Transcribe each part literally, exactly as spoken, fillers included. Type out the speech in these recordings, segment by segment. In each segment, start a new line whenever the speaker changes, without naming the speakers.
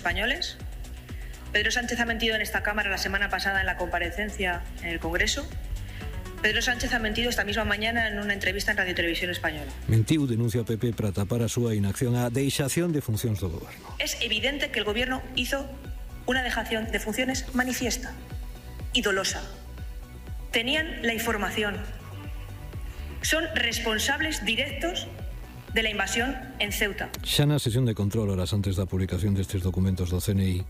españoles. Pedro Sánchez ha mentido en esta Cámara la semana pasada en la comparecencia en el Congreso. Pedro Sánchez ha mentido esta misma mañana en una entrevista en Radio Televisión Española.
Mentiu, denuncia P P, para tapar a súa inacción a deixación de funcións do goberno.
Es evidente que el Gobierno hizo una dejación de funciones manifiesta y dolosa. Tenían la información. Son responsables directos de la invasión en Ceuta.
Xa na sesión de control, horas antes da publicación destes documentos do C N I,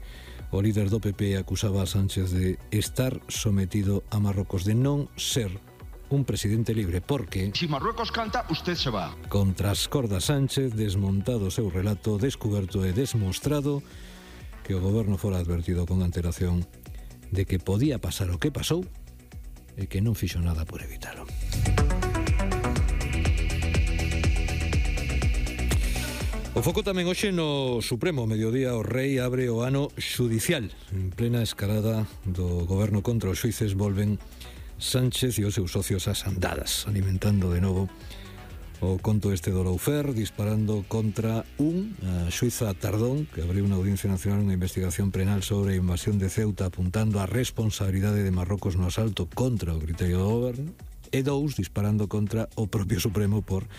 o líder do P P acusaba a Sánchez de estar sometido a Marrocos, de non ser un presidente libre, porque
si Marruecos canta, usted se va.
Contra as cordas Sánchez, desmontado o seu relato, descuberto e desmostrado que o goberno fora advertido con antelación de que podía pasar o que pasou e que non fixo nada por evitalo. O foco tamén hoxe no Supremo. Mediodía o Rei abre o ano xudicial. En plena escalada do goberno contra os xuíces volven Sánchez e os seus socios ás andadas, alimentando de novo o conto este do Loufer, disparando contra un, a xuíza Tardón, que abriu na Audiencia Nacional unha investigación penal sobre a invasión de Ceuta, apuntando a responsabilidade de Marrocos no asalto contra o criterio do goberno, e dous, disparando contra o propio Supremo por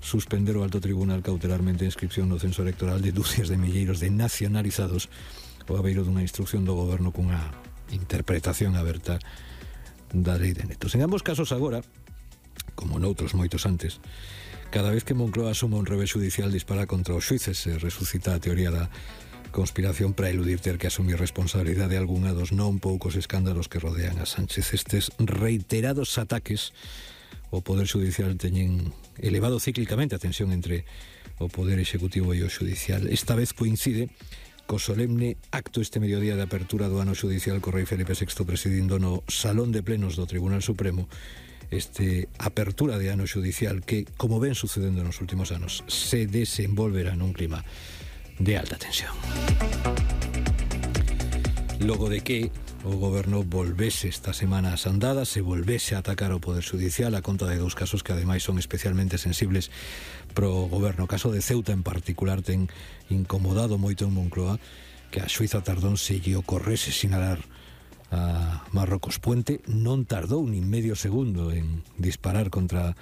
suspender o alto tribunal cautelarmente a inscripción no censo electoral de dúcias de milleiros de nacionalizados ao abeiro dunha instrucción do goberno cunha interpretación aberta da lei de netos. En ambos casos agora, como noutros moitos antes, cada vez que Moncloa asuma un revés judicial dispara contra os xuíces e resucita a teoría da conspiración para eludir ter que asumir responsabilidade algunha dos non poucos escándalos que rodean a Sánchez. Estes reiterados ataques o Poder Judicial teñen elevado cíclicamente a tensión entre o Poder Executivo e o Judicial. Esta vez coincide co solemne acto este mediodía de apertura do ano judicial co rei Felipe sexto presidindo no Salón de Plenos do Tribunal Supremo. Este apertura de ano judicial que, como ven sucedendo nos últimos anos, se desenvolverá nun clima de alta tensión. Logo de que o goberno volvese esta semana ás andadas, se volvese a atacar o Poder Judicial a conta de dous casos que ademais son especialmente sensibles pro goberno. O caso de Ceuta en particular ten incomodado moito en Moncloa que a xuíza Tardón se lle ocorrese sinalar a Marrocos. Puente non tardou nin medio segundo en disparar contra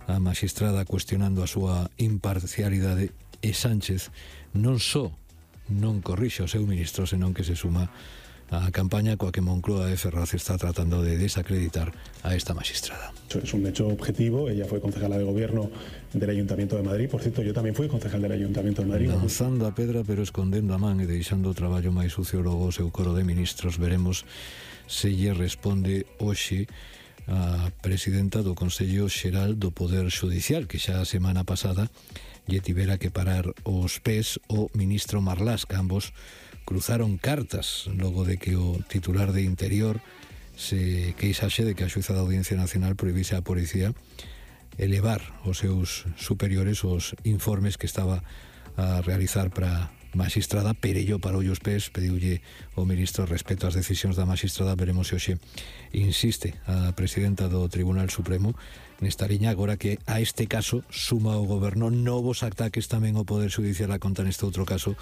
a magistrada cuestionando a súa imparcialidade, e Sánchez non só non corrixe o seu ministro, senón que se suma a campaña coa que Moncloa e Ferraz está tratando de desacreditar a esta magistrada.
Es un hecho objetivo, ella fue concejala de gobierno del Ayuntamiento de Madrid, por cierto, yo tamén fui concejal del Ayuntamiento de Madrid.
Lanzando a pedra pero escondendo a man e deixando o traballo máis sucio logo o seu coro de ministros. Veremos se lle responde hoxe a presidenta do Consello Xeral do Poder Judicial, que xa a semana pasada lle tivera que parar os pés o ministro Marlaska. Ambos cruzaron cartas logo de que o titular de Interior se queixase de que a xuíza da Audiencia Nacional prohibise á policía elevar os seus superiores os informes que estaba a realizar para magistrada. Perello parou os pés, pediulle o ministro respeto ás decisións da magistrada. Veremos se hoxe insiste a presidenta do Tribunal Supremo nesta liña, agora que a este caso suma o goberno novos ataques tamén ao Poder Judicial a conta neste outro caso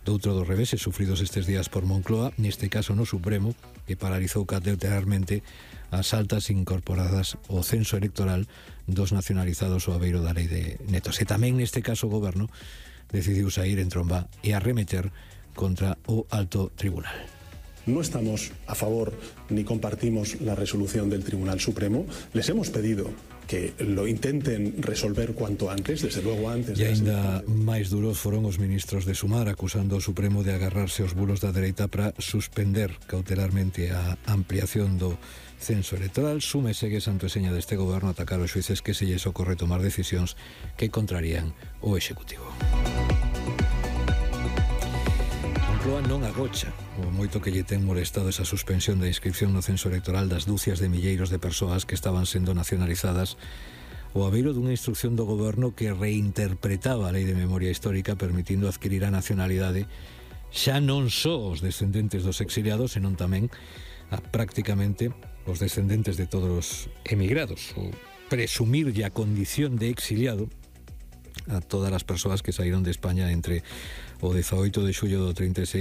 doutro dos reveses sufridos estes días por Moncloa, neste caso no Supremo, que paralizou cautelarmente as altas incorporadas ao censo electoral dos nacionalizados ao abeiro da lei de netos. E tamén neste caso o goberno decidiu sair en tromba e arremeter contra o alto tribunal.
No estamos a favor ni compartimos la resolución del Tribunal Supremo. Les hemos pedido que lo intenten resolver cuanto antes, desde luego antes.
E aínda máis duros foron os ministros de Sumar, acusando o Supremo de agarrarse aos bulos da dereita para suspender cautelarmente a ampliación do censo electoral. Sume segue santo e seña deste goberno atacar os xuíces que se lles ocorre tomar decisións que contrarían o Executivo. Moncloa non agocha o moito que lle ten molestado esa suspensión da inscripción no censo electoral das dúcias de milleiros de persoas que estaban sendo nacionalizadas o abeiro dunha instrucción do goberno que reinterpretaba a lei de memoria histórica permitindo adquirir a nacionalidade xa non só os descendentes dos exiliados, senón tamén a prácticamente os descendentes de todos os emigrados, ou presumirlle a condición de exiliado a todas as persoas que saíron de España entre o dezaoito de xullo do trinta e seis